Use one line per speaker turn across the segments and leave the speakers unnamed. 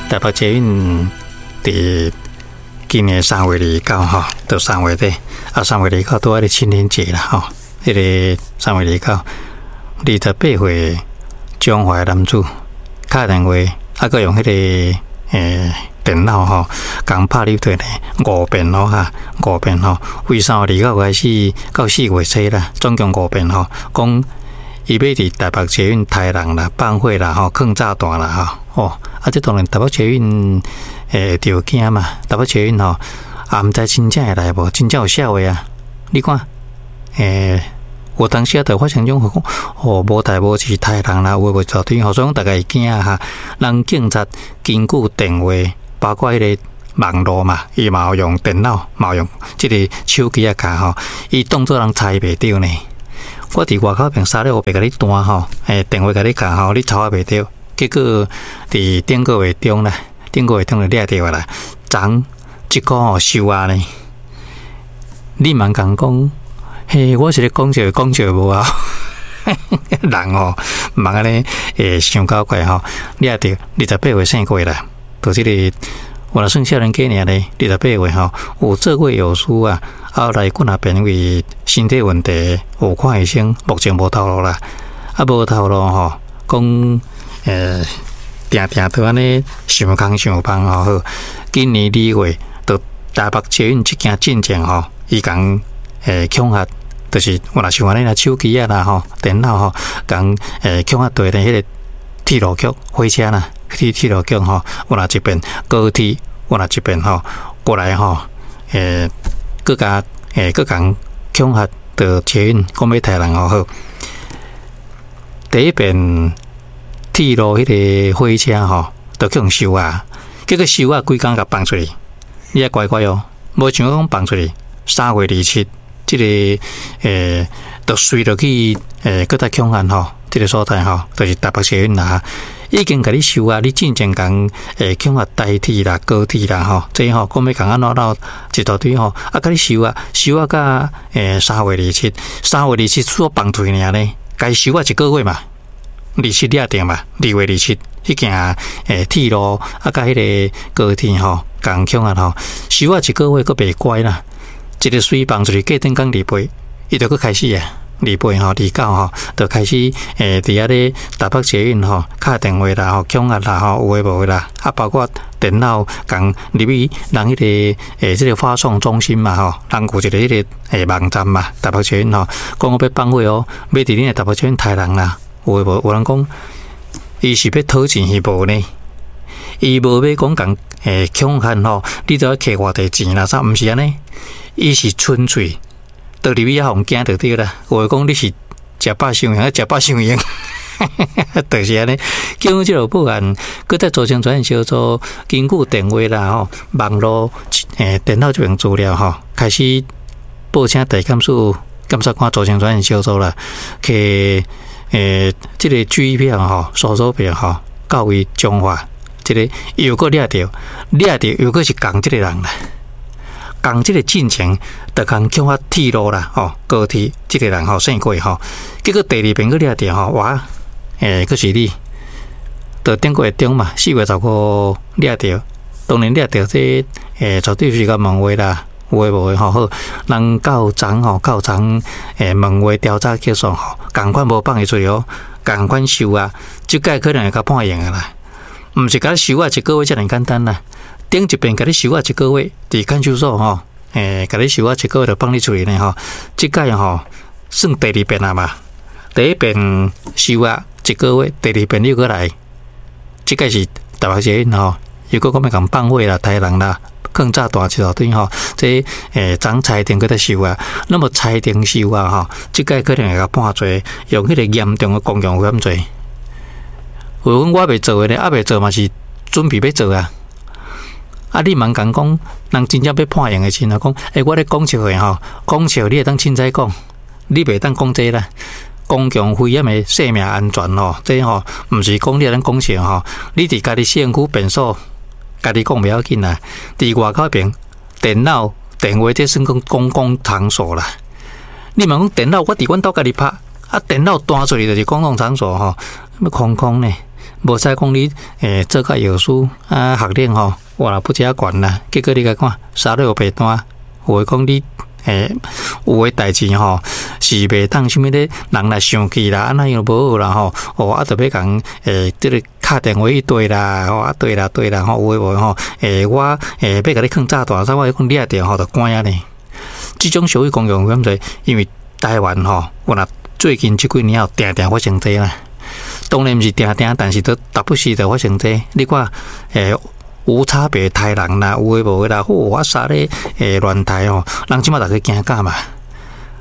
台北捷運佇今年3月29吼，到三月底，啊，三月二九拄仔咧情人節啦吼，彼个三月二九，28歲彰化男子敲電話，啊，閣用彼个電腦吼，共拍入去呢五遍咯哈，五遍吼，為三月二九開始到4月初啦，總共五遍吼，講伊欲佇台北捷運刣人啦、放火啦、吼、囥炸彈啦吼，哦，啊，這當然台北捷運會著驚嘛，台北捷運吼，也毋知真正會來無，真正有痟話啊！你看，有當時啊，就發生這種講，哦，無代無誌刣人啦，有的無的對吼，所以講逐家會驚哈。人警察根據電話，包括彼个網路嘛，伊嘛有用電腦，嘛有用這個手機仔卡吼，伊當做人猜袂著呢。我佇外口爿三咧烏白共你彈吼，電話共你敲吼，你猜我袂著。結果佇頂個月中啦，頂個月中就掠著啊啦，昨這個吼收押呢。你毋通共講，嘿，我是咧講笑，講笑無啊？人吼，毋通按呢會傷搞怪吼，掠著28歲姓郭啦，就這個有若算少年家爾呢，二十八歲吼，有做過藥師啊，後來幾若遍因為身體問題有看醫生，目前無頭路啦，啊無頭路吼，講定定都按呢想空想芳吼好，今年2月，就台北捷運這件進前吼，伊共恐嚇，就是有若像按呢啦，手機仔啦吼，電腦吼，共恐嚇對咧彼个鐵路局火車啦，去鐵路局吼，有若一遍高鐵，有若一遍吼過來吼，閣共閣共恐嚇著捷運，講欲刣人吼好。第一遍鐵路彼个火車吼，就去予收押，結果收押規工共放出去，你愛乖乖哦，無像講放出去，3月27，這个就隨落去閣再恐嚇吼，這个所在吼，就是台北捷運啦，已經共你收押，你進前共恐嚇台鐵啦、高鐵啦吼，這吼講欲共按怎鬧一大堆吼，啊，共你收押，收押甲三月二七，三月二七出放出去爾呢，共收押一個月嘛，二七掠著嘛，2月27，彼件鐵路啊，佮彼个高鐵吼，共恐嚇吼，收押一個月閣袂乖啦，一个隨放出去，過頂工二八，伊就閣開始啊，二八吼、29吼，就開始佇遐咧台北捷運吼，敲電話啦吼、恐嚇啦吼，有的無的啦，啊，包括電腦共入去人彼个這个發送中心嘛吼，人有一個彼个網站嘛，台北捷運吼，講我欲放火哦，欲佇恁的台北捷運刣人啦，有的無？有人講伊是欲討錢是無呢？伊無欲講共恐嚇吼，你著愛摕偌濟錢啦啥？毋是按呢，伊是純粹倒入去遐予人驚著對啦。有的講你是食飽傷閒，食飽傷閒，就是按呢。警方這個報案，閣再組成專案小組，根據電話啦吼、網路電腦這邊資料吼，開始報請地檢署檢察官組成專案小組啦，去這个機票吼、搜索票吼，到位彰化，這个又閣掠著，掠著又閣是仝這个人啦，仝這个進程，就共恐嚇鐵路啦，吼，高鐵這个人吼姓郭吼，結果第二遍閣掠著吼，哇，閣是你，就頂個月中嘛，4月15掠著，當然掠著這絕對是共問話啦，有的無的吼好，人到昨吼，到昨問話調查結束吼，仝款無放伊出去哦，仝款收押，這擺可能會共判刑的啦，毋是共你收押一個月遮爾簡單啦。頂一遍共你收押一個月，佇看守所吼，共你收押一個月就放你出去呢吼。這擺吼算第二遍啊嘛，第一遍收押一個月，第二遍又閣來，這擺是台北捷運吼，又閣講欲共放火啦、刣人啦、囥炸彈一大堆吼，這昨裁定閣再收押，那麼裁定收押吼，這擺可能會共判罪，用彼个嚴重的公共危險罪。有講我袂做的呢，猶未做嘛是準備欲做啊。啊！你毋通講，人真正欲判刑的時陣，講，我咧講笑的吼，講笑你會當凊彩講，你袂當講這啦。公共危險的生命安全吼，這吼毋是講你會當講笑吼。你佇家己身軀便所，家己講袂要緊啦。佇外口爿電腦、電話，這算講公共場所啦。你毋講電腦，我佇阮兜家己拍，啊，電腦彈出去就是公共場所吼，欲空空呢？無使講你做甲藥師啊學歷吼，哇啦不遮懸啦，結果你共看沙律白單，有的講你有的代誌吼是袂當啥物咧，人來生氣啦，按怎樣無好啦吼，哦啊，著欲共這个敲電話去對啦，吼啊對啦對啦吼，有的無的吼，我欲共你囥炸彈，啥我講掠著吼，就關啊呢。這種社會公共危險，因為台灣吼，有若最近這幾年有定定發生這啦。當然毋是定定，但是都逐不時就發生這。你看，無差別刣人啦，有的無的啦，吼，我殺咧，亂刣吼，人這馬逐家驚甲嘛。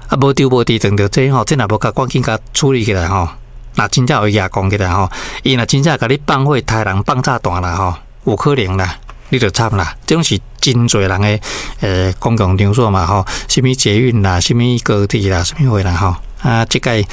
啊，無丟無佇撞著這吼，這若無共趕緊共處理起來吼，若真正有舉講起來吼，伊若真正共你放火刣人放炸彈啦吼，有可能啦，你就慘啦。這種是真濟人的公共場所嘛吼，啥物捷運啦，啥物高鐵啦，啥物貨啦吼，啊，這屆。